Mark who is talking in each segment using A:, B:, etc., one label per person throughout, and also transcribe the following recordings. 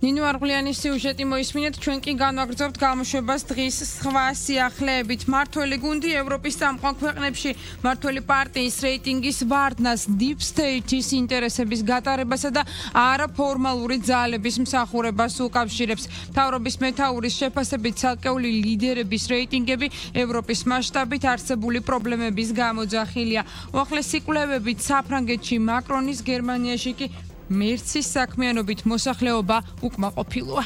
A: ნინო არღლიანის სიუჟეტი მოისმინეთ, ჩვენ კი განვაგრძობთ გამოშვებას დღის სხვა სიახლეებით. მმართველი გუნდი ევროპის წამყვან ქვეყნებში მმართველი პარტიის რეიტინგის ვარდნას Deep State-ის ინტერესების გატარებასა და არაფორმალური ძალების მსახურებას უკავშირებს. მთავრობის მეთაურის შეფასებით ცალკეული ლიდერების რეიტინგები ევროპის მასშტაბით არსებული პრობლემების გამოძახილია. უახლესი კვლევებით საფრანგეთში მაკრონის, გერმანიაში კი მერცის საქმიანობით მოსახლეობა უკმაყოფილოა.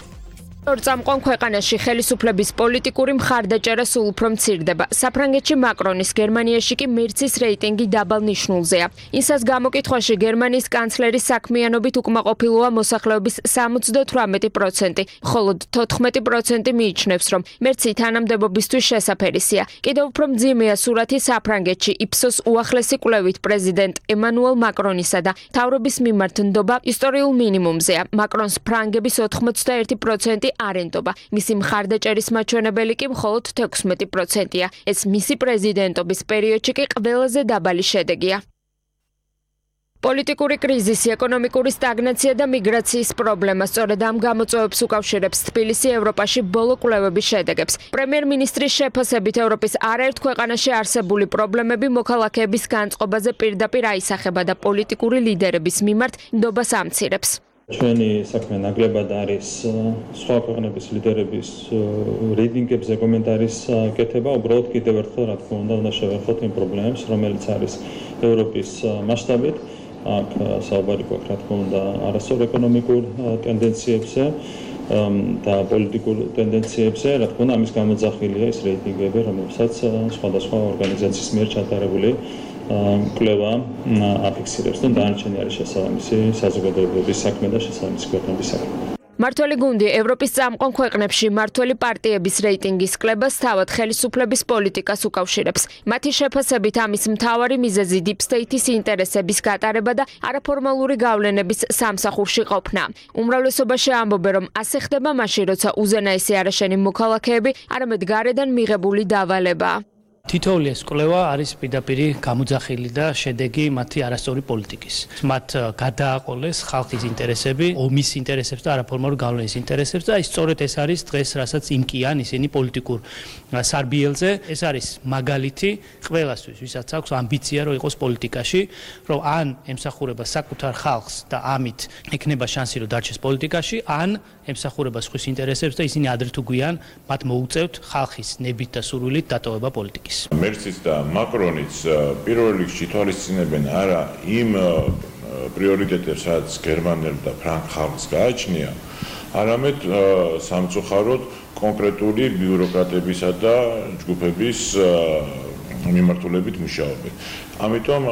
B: წამყვან ქვეყანაში ხელისუფლების პოლიტიკური მხარდაჭერა სულ უფრო მცირდება. საფრანგეთში მაკრონის, გერმანიაში კი მერცის რეიტინგი დაბალ ნიშნულზეა. ისას გამოკითხვაში გერმანიის კანცლერის საქმიანობით უკმაყოფილოა მოსახლეობის 78%, ხოლო 14% მიიჩნევს, რომ მერცი თანამდებობისთვის შესაფერისია. კიდევ უფრო მძიმეა სურათი საფრანგეთში. იფსოს უახლესი კვლევით პრეზიდენტ ემანუელ მაკრონისა და მთავრობის მიმართ ნდობა ისტორიულ მინიმუმზეა. მაკრონს ფრანგების 81% არენდობა. მისი მხარდაჭერის მაჩვენებელი კი მხოლოდ 16%-ია. ეს მისი პრეზიდენტობის პერიოდში კი ყველაზე დაბალი შედეგია. პოლიტიკური კრიზისი, ეკონომიკური სტაგნაცია და მიგრაციის პრობლემა სწორედ ამ გამოწვევებს უკავშირებს თბილისი ევროპაში ბოლო კვლევების შედეგებს. პრემიერ-მინისტრის შეფასებით ევროპის არაერთ ქვეყანაში არსებული პრობლემები მოქალაქეების განწყობაზე პირდაპირ აისახება და პოლიტიკური ლიდერების მიმართ ნდობას ამცირებს.
C: ჩვენი საქმე ნაკლებად არის სხვა ქვეყნების ლიდერების რეიტინგებზე კომენტარის კეთება, უბრალოდ კიდევ ერთხელ რა თქმა უნდა შევეხოთ იმ პრობლემებს, რომელიც არის ევროპის მასშტაბით. აქ საუბარი გვაქვს რა თქმა უნდა არასწორ ეკონომიკურ ტენდენციებზე და პოლიტიკურ ტენდენციებზე, რა თქმა უნდა ამის გამოძახილია ის რეიტინგები, რომელსაც სხვადასხვა ორგანიზაციის მიერ ჩატარებული კვლევა აფიქსირებს და დანარჩენი არის შესაბამისი საზოგადოებების საქმე და შესაბამისი ქვეყნების საქმე.
B: მმართველი გუნდი ევროპის წამყვან ქვეყნებში მმართველი პარტიების რეიტინგის კლებას თავად ხელისუფლების პოლიტიკას უკავშირებს. მათი შეფასებით ამის მთავარი მიზეზი Deep State-ის ინტერესების გატარება და არაფორმალური გავლენების სამსახურში ყოფნა. უმრავლესობაში ამბობენ, რომ ასე ხდება მაშინ, როცა უზენაესი არაშენი მოქალაქეები არამედ გარედან მიღებული დავალებაა.
D: თითოეული ეს კვლევა არის პირდაპირი გამოძახილი და შედეგი მათი არასწორი პოლიტიკის. მათ გადააყოლეს ხალხის ინტერესები, ომის ინტერესებს და არაფორმალურ გავლენის ინტერესებს და სწორედ ეს არის დღეს, რასაც იმკიან ისინი პოლიტიკურ სარბიელზე. ეს არის მაგალითი ყველასთვის, ვისაც აქვს ამბიცია, რომ იყოს პოლიტიკაში, რომ ან ემსახურება საკუთარ ხალხს და ამით ექნება შანსი, რომ დარჩეს პოლიტიკაში, ან ემსახურება სხვის ინტერესებს და ისინი ადრე თუ გვიან მათ მოუწევთ ხალხის ნებით და სურვილით დატოვება პოლიტიკის.
E: მერციც და მაკრონიც პირველ რიგში თვალისწინებენ არა იმ პრიორიტეტებს, რაც გერმანელ და ფრანგ ხალხს გააჩნია, არამედ სამწუხაროდ კონკრეტული ბიუროკრატებისა და ჯგუფების მიმართულებით მუშაობენ. ამიტომ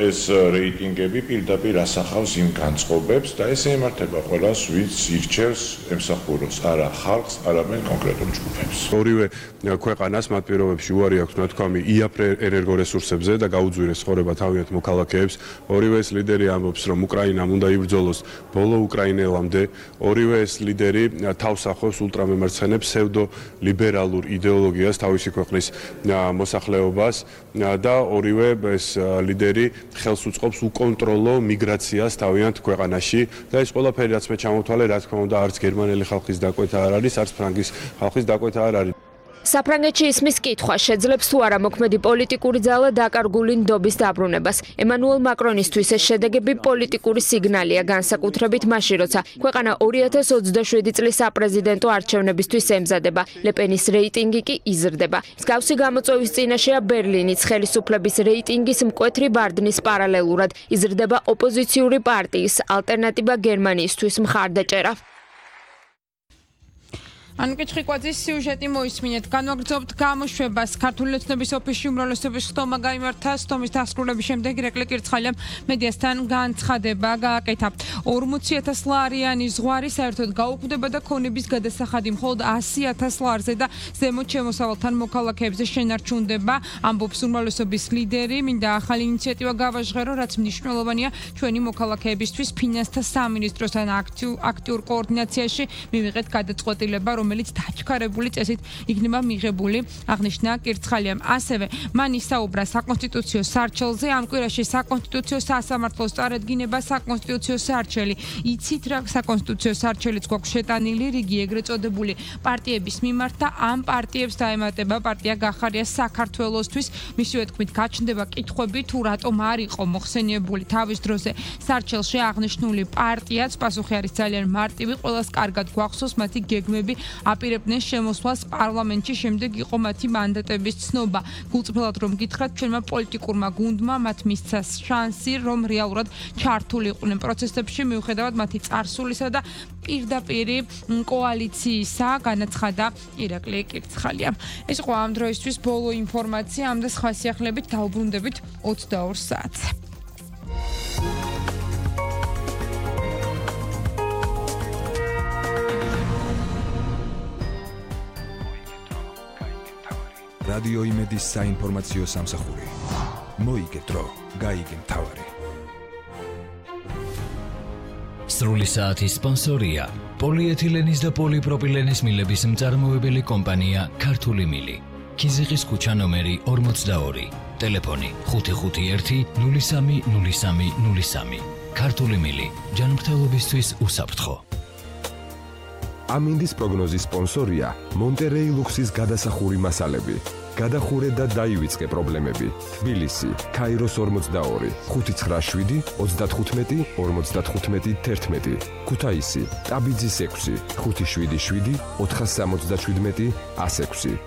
E: ეს რეიტინგები პირდაპირ ასახავს იმ განწყობებს და ეს ემართება ყველას, ვინც ირჩევს ემსახუროს არა ხალხს, არამედ კონკრეტულ ჯგუფებს.
F: ორივე ქვეყანას მათ პირობებში უარი აქვს ნათქვამი იაფ ენერგორესურსებზე და გაუძვირეს ცხოვრება თავიანთ მოქალაქეებს. ორივე ეს ლიდერი ამბობს, რომ უკრაინამ უნდა იბრძოლოს ბოლო უკრაინელამდე. ორივე ეს ლიდერი თავს ახობს ულტრამემარცხენე ფსევდოლიბერალურ იდეოლოგიას თავისი ქვეყნის მოსახლეობას და ორივე ეს ლიდერი ხელს უწყობს უკონტროლო მიგრაციას თავიანთ ქვეყანაში და ეს ყველაფერი რაც მე ჩამოვთვალე, რა თქმა უნდა, არც გერმანელი ხალხის დაკვეთა არ არის, არც ფრანგის ხალხის დაკვეთა არ არის.
B: საფრანგეთში ისმის კითხვა შეძლებს თუ არა მოქმედი პოლიტიკური ძალა დაკარგული ნდობის დაბრუნებას. ემანუელ მაკრონისთვის ეს შედეგები პოლიტიკური სიგნალია, განსაკუთრებით მაშინ, როცა ქვეყანა 2027 წლის საპრეზიდენტო არჩევნებისთვის ემზადება. ლეპენის რეიტინგი კი იზრდება. მსგავსი გამოწვევის წინაშეა ბერლინის ხელისუფლების რეიტინგის მკვეთრი ვარდნის პარალელურად იზრდება ოპოზიციური პარტიის ალტერნატივა გერმანიისთვის მხარდაჭერა.
A: ანუკე ჩხიკვაძის სიუჟეტი მოისმინეთ. განვაგრძობთ გამოშვებას. ქართული ოცნების ოფისში უმრავლესობის ხტომა გაიმართა. ხტომის დასრულების შემდეგ ირაკლი კირცხალამ მედიასთან განცხადება გააკეთა. 40,000 ლარიანი ზღვარი საერთოდ გაუქმდება და ქონების გადასახადი მხოლოდ 100,000 ლარზე და ზემოთ შემოსავალთან მოქალაქეებზე შენარჩუნდება. ამბობს უმრავლესობის ლიდერი. მინდა ახალი ინიციატივა გავაჟღერო, რაც მნიშვნელოვანია ჩვენი მოქალაქეებისთვის. ფინანსთა სამინისტროსთან აქტიურ კოორდინაციაში მივიღეთ გადაწყვეტილება, რომ რომელიც დაჩქარებული წესით იქნება მიღებული, აღნიშნა კირცხალიამ. ასევე მან ისაუბრა საკონსტიტუციო სარჩელზე, ამ კვირაში საკონსტიტუციო სასამართლოს წარადგინება საკონსტიტუციო სარჩელი. იცით რა საკონსტიტუციო სარჩელიც გვაქვს შეტანილი რიგი ეგრეთ წოდებული პარტიების მიმართ და ამ პარტიებს დაემატება პარტია გახარია საქართველოსთვის. მისივე თქმით გაჩნდება კითხვები თუ რატომ არ იყო მოხსენიებული თავის დროზე სარჩელში აღნიშნული პარტიაც. პასუხი არის ძალიან მარტივი, ყველას კარგად გვახსოვს მათი გეგმები აპირებდნენ შემოსვლას პარლამენტში, შემდეგ იყო მათი მანდატების ცნობა. გულწრფელად რომ გითხრათ, ჩვენმა პოლიტიკურმა გუნდმა მათ მისცა შანსი, რომ რეალურად ჩართულიყვნენ პროცესებში, მიუხედავად მათი წარსულისა და პირდაპირი კოალიციისა, განაცხადა ირაკლი კირცხალიამ. ეს იყო ამ დროისთვის ბოლო ინფორმაცია, ამ და სხვა სიახლებით დაუბრუნდებით 22 საათზე.
G: რადიო იმედის საინფორმაციო სამსახური. მოიგე დრო, გაიგე მთავარი.
H: სრული საათის სპონსორია პოლიეთილენის და პოლიპროპილენის მილების მწარმოებელი კომპანია ქართული მილი. ქიზიყის ქუჩა ნომერი 42. ტელეფონი 551 03 03 03. ქართული მილი. ჯანმრთელობისთვის უსაფრთხო.
I: ამინდის პროგნოზის სპონსორია მონტერეი ლუქსის გადასახური მასალები. გადახურე და დაივიწყე პრობლემები. თბილისი, ქაიროს 42, 597 35 55 11. ქუთაისი, ტაბიძის 6, 577 477 106.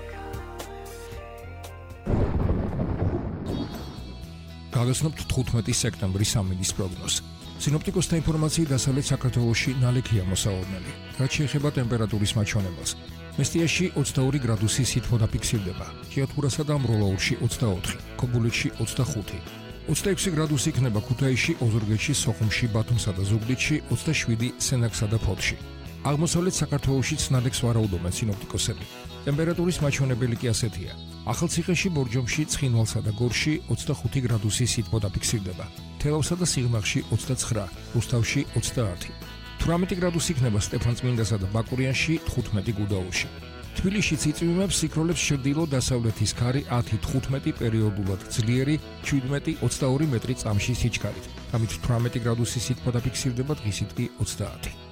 J: გაგაცნობთ 15 სექტემბრის ამინდის პროგნოზს. სინოპტიკოსთა ინფორმაციით დასავლეთ საქართველოში ნალექია მოსავალნელი. რაც შეეხება ტემპერატურის მაჩვენებელს. მესტიაში 22 გრადუსი სითბო დაფიქსირდება. ჭიათურასა და მროლაურში 24, ქობულეთში 25. 26 გრადუსი იქნება ქუთაისში, ოზურგეთში, სოხუმში, ბათუმსა და ზუგდიდში, 27 სენაკსა და ფოთში. აღმოსავლეთ საქართველოში ნალექს ვარაუდობენ სინოპტიკოსები. ტემპერატურის მაჩვენებელი კი ასეთია. ახალციხეში, ბორჯომში, ცხინვალსა და გორში 25 გრადუსი სითბო დაფიქსირდება. თელავსა და სიღნაღში 29, რუსთავში 30. 18 გრადუსი იქნება სტეფანწმინდასა და ბაკურიანში, 15 გუდაურში. თბილისში იწვიმებს სიქროლებს ჩრდილო-დასავლეთის ქარი 10-15 პერიოდულად ძლიერი 17-22 მეტრი წამში სიჩქარით. ამით 18 გრადუსი სითბო დაფიქსირდება, დღისით კი 30.